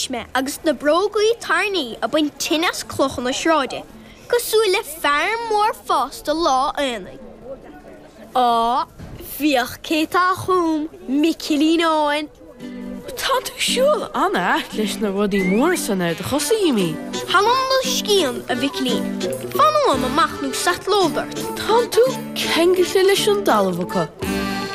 Anois mé agus na brógaí tairní ag baint toinn as clocha na sráide, cosúil le fear mór fásta lá aonaigh. Á, féach cé tá chugam, Micilín Eoghain! Tá tú ag siúl an-ait leis na rudaí móra san ar do chosa, a Jimín. Th'anam 'mo scian, a Mhicilín. Fan uaim amach nó satlód ort. Tánn tú ceangailte leis an dtalamh acu.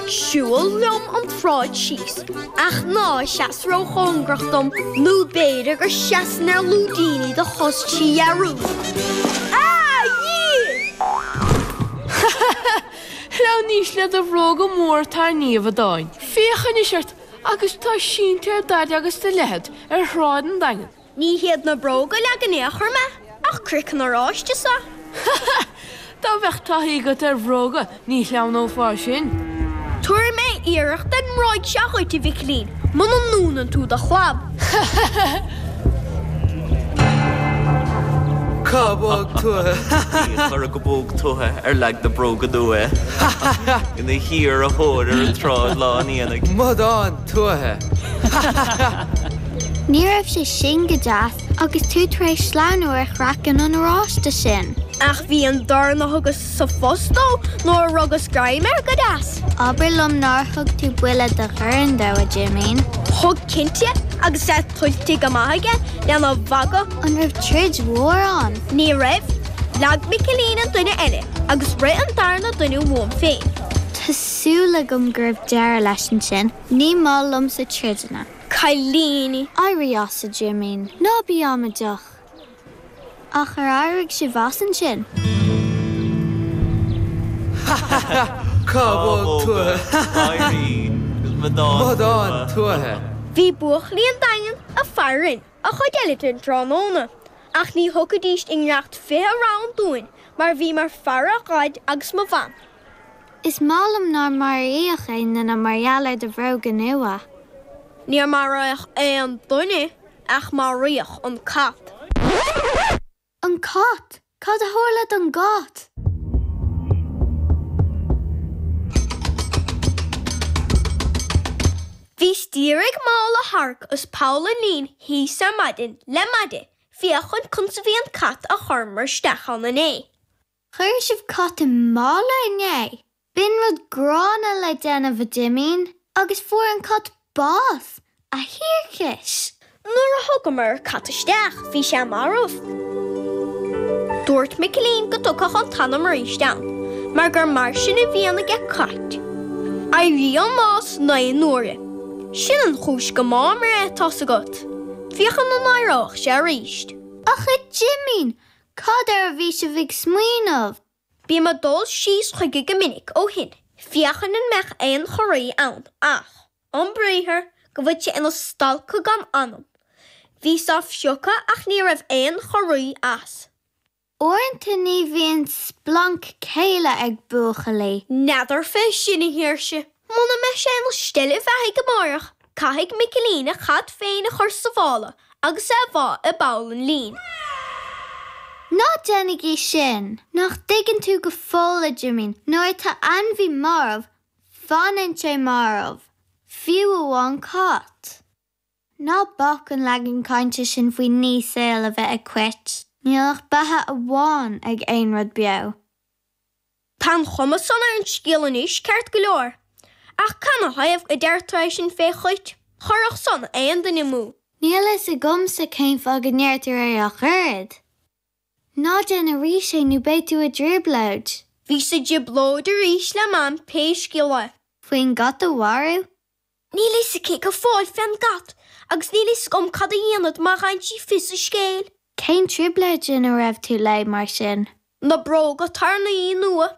Siúil liom an tsráid síos, ach ná seas ró-chóngarach dom nó b'fhéidir go seasfainn ar lúidíní do chos trí dhearúd. A Dhia! Ha ha ha! Shleamhnaís le do bhróga móra tairní, a Mhadáin. Féach anois ort agus tá sínte ar d'fhaid agus do leithead ar shráid an Daingin. Ní hiad na bróga a leag in aon chor mé, ach craiceann oráiste sea. Ha ha! Dá mbeadh taithí agat ar bhróga ní shleamhnófá sin. Tabharfaidh mé iarracht den mbróig seo dhuit, a Mhicilín, muna ndúnann tú do chlab. Ha ha ha! Cábóg tuaithe. Ha ha ha! Chuir go bóg tuaithe ar leag na bróga nua é. Ha ha ha! Ina shíor-a thóir ar an tsráid lá an aonaigh. Madán tuaithe. Ha ha ha! Ní raibh sé sin go deas agus tú tar éis sleamhnú ar chraiceann an oráiste sin. Ach bhí an dorn a thugas sa phost dó nuair a rugas greim air go deas. Abair liom nár thug tú buille de dhorn dó, a Jimín. Thug cinnte, agus é tuillte go maith aige lena mhagadh. An raibh troid mhór ann? Ní raibh. Leag Micilín an duine eile agus rith an darna duine uaim féin. Tá súil agam go raibh deireadh leis ansin. Ní maith liomsa troideanna. Cailíní! Éirigh as, a Jimín. Ná bí amaideach. Ach ar éirigh sibh as ansin? Ha ha ha! Cábóg tuaithe! Ha ha ha! Madán tuaithe! Bhí buachaillí an Daingin ag faire orainn an chuid eile den tráthnóna, ach ní thiocfaidís i ngiorracht 20 round dúinn mar bhíomar ag faire Dhaid agus mo Mham. Is maith liom nár maraíodh aon duine mar gheall ar do bhróga nua. Níor maraíodh aon duine ach maraíodh an cat. An cat? Cad a tharla don gcat? Bhíos d'iarraidh mála a tharrac as poll an lín thíos ar maidin le maide féachaint conas a bhí an cat a chuireamar isteach ann inné. Chuir sibh cat i mála inné? B'in rud gránna le déanamh, a Jimín, agus fuair an cat bás, a thiarcais! Nuair a thugamar an cat isteach bhí sé marbh. Dúirt Micilín go dtiocfadh an t-anam arís ann, mar gur mar sin a bhíonn aige cait. Éiríonn an bás 9 n-uaire. Sin an chúis go mbáimar é, tá's agat. Féachaint an éireodh sé arís. Ach a Jimín, Cad air a bhí sibh ag smaoineamh? Bím ag dul síos chuige go minic ó shin féachaint an mbeadh aon chorraí ann ach, om briathar, go bhfuil sé ina stalcadh gan anam. Bhíos á phiocadh ach ní raibh aon chorraí as. Uaireanta ní bhíonn splanc céille ag buachaillí. N'fheadar fé sin, a Shaoirse. Muna mbeidh sé ina stealladh bheathaidh amáireach, caithfidh Micilín a chat féin a chur sa mhála agus é a bhá i bpoll an lín. Ná déanaigí sin! Nach dtuigeann tú go fóill, a Jimín, nuair atá ainmhí marbh, fanann sé marbh, fiú amháin cat. Ná bac an leagan cainte sin faoi ní saoil a bheith ag cait, níl ach beatha amháin ag aon rud beo. Tá an chuma san ar an scéal anois, ceart go leor. Ach canathaobh a deirtear é sin fé chait? Chuirfeadh san aon duine amú. Níl fhios agamsa cén fáth go ndeirtear é ach oiread. Ná déan arís é nó beidh tú i dtrioblóid. Bhíos i dtrioblóid arís le Mam pé scéal é. Faoin gcat a mharú? Níl fhios aici go fóill fén gcat agus níl fhios agam cad a dhéanfad má fhaigheann sí fios an scéil. Cén trioblóid ina raibh tú léi mar sin? Na bróga tairní nua.